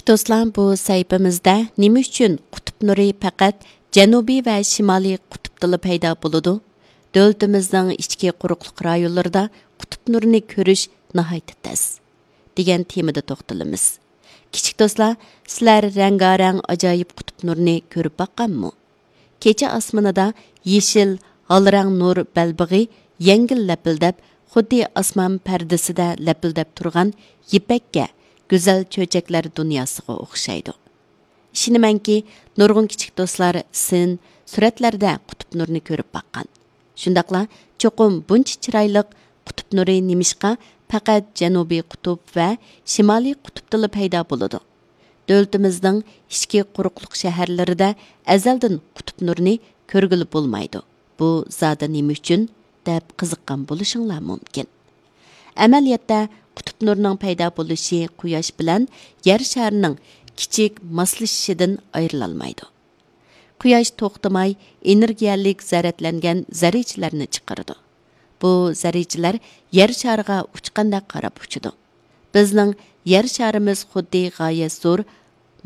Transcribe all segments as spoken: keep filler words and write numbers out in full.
دوستلار، بۇ سەھىپىمىزدە نېمە ئۈچۈن قۇتۇپ نۇرى پەقەت جەنۇبىي ۋە شىمالىي قۇتۇپتىلا پەيدا بولىدۇ؟ دۆلىتىمىزنىڭ ئىچكى قۇرۇقلۇق رايونلىرىدا قۇتۇپ نۇرىنى كۆرۈش ناھايىتى تەس، دېگەن تېمىدا توختىلىمىز. كىچىك دوستلار، سىلەر رەڭگارەڭ ئاجايىپ قۇتۇپ نۇرىنى كۆرۈپ باققانمۇ؟ كېچە ئاسمىنىدا يېشىل، ھالرەڭ نۇر بەلبېغى يەڭگىل لەپىلدەپ، خۇددى ئاسمان پەردىسىدە لەپىلدەپ تۇرغان يىپەككە، گۈزەل چۆچەكلەر دۇنياسىغا ئوخشايدۇ. ئىشىنىمەنكى، نۇرغۇن كىچىك دوستلار سىن، سۈرەتلەردە قۇتۇپ نۇرىنى كۆرۈپ باققان. شۇنداقلا چوقۇم بۇنچە چىرايلىق قۇتۇپ نۇرى نېمىشقا پەقەت جەنۇبىي قۇتۇپ ۋە شىمالىي قۇتۇپتىلا پەيدا بولىدۇ؟ دۆلىتىمىزنىڭ ئىچكى قۇرۇقلۇق شەھەرلىرىدە ئەزەلدىن قۇتۇپ نۇرىنى كۆرگىلى بولمايدۇ. بۇ زادى نېمە ئۈچۈن؟ دەپ قىزىققان بولۇشۇڭلار مۇمكىن. ئەمەلىيەتتە، قۇتۇپ نۇرىنىڭ پەيدا بولۇشى قۇياش بىلەن يەر شارىنىڭ كىچىك ماسلىشىشىدىن ئايرىلالمايدۇ. قۇياش توختىماي ئېنېرگىيەلىك زەرەتلەنگەن زەررىچىلەرنى چىقىرىدۇ. بۇ زەررىچىلەر يەر شارىغا ئۇچقاندەك قاراپ ئۇچىدۇ. بىزنىڭ يەر شارىمىز خۇددى غايەت زور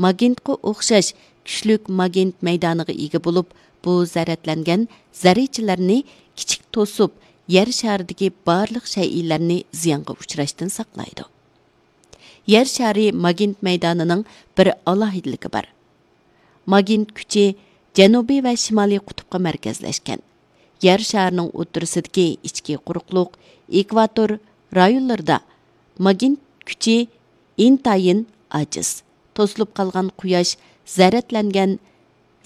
ماگنىتقا ئوخشاش كۈچلۈك ماگنىت مەيدانىغا ئىگە بولۇپ، بۇ زەرەتلەنگەن زەررىچىلەرنى كىچىك توسۇپ، يەر شارىدىكى بارلىق شەيئىلەرنى زىيانغا ئۇچراشتىن ساقلايدۇ. يەر شارى ماگنىت مەيدانىنىڭ بىر ئالاھىدىلىكى بار. ماگنىت كۈچى جەنۇبىي ۋە شىمالىي قۇتۇپقا مەركەزلەشكەن. يەر شارىنىڭ ئوتتۇرىسىدىكى ئىچكى قۇرۇقلۇق، ئېكۋاتور رايونلىرىدا ماگنىت كۈچى ئىنتايىن ئاجىز. توسۇلۇپ قالغان قۇياش زەرەتلەنگەن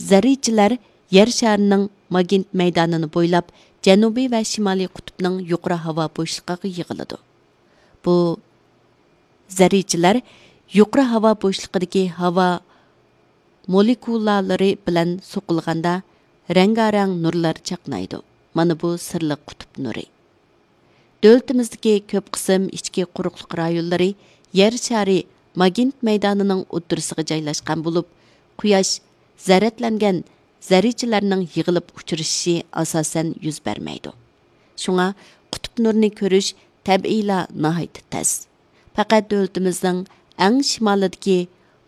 زەررىچىلەر يەر شارىنىڭ ماگنىت مەيدانىنى بويلاپ، جەنۇبىي ۋە شىمالىي قۇتۇپنىڭ يۇقىرى ھاۋا بوشلۇقىغا يىغىلىدۇ. بۇ زەررىچىلەر يۇقىرى ھاۋا بوشلۇقىدىكى ھاۋا مولېكۇلالىرى بىلەن سوقۇلغاندا، رەڭگارەڭ نۇرلار چاقنايدۇ. مانا بۇ سىرلىق قۇتۇپ نۇرى. دۆلىتىمىزدىكى كۆپ قىسىم ئىچكى قۇرۇقلۇق رايونلىرى يەر شارى ماگنىت مەيدانىنىڭ ئوتتۇرىسىغا جايلاشقان بولۇپ، قۇياش زەرەتلەنگەن زەررىچىلەرنىڭ يىغىلىپ ئۇچرىشىشى ئاساسەن يۈز بەرمەيدۇ. شۇڭا قۇتۇپ نۇرىنى كۆرۈش تەبىئىيلا ناھايىتى تەس. پەقەت دۆلىتىمىزنىڭ ئەڭ شىمالىدىكى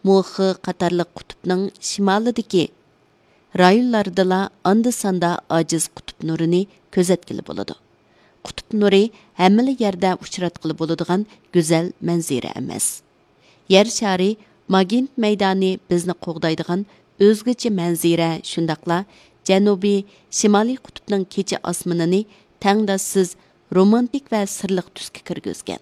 موخې قاتارلىق قۇتۇپنىڭ شىمالىدىكى رايونلاردىلا ئاندا-ساندا ئاجىز قۇتۇپ نۇرىنى كۆزەتكىلى بولىدۇ. قۇتۇپ نۇرى ھەممىلا يەردە ئۇچراتقىلى بولىدىغان گۈزەل مەنزىرە ئەمەس. يەر شارى ماگنىت مەيدانى بىزنى قوغدايدىغان ئۆزگىچە مەنزىرە، شۇنداقلا جەنۇبىي، شىمالىي قۇتۇپنىڭ كېچە ئاسمىنىنى تەڭداشسىز رومانتىك ۋە سىرلىق تۈسكە كىرگۈزگەن.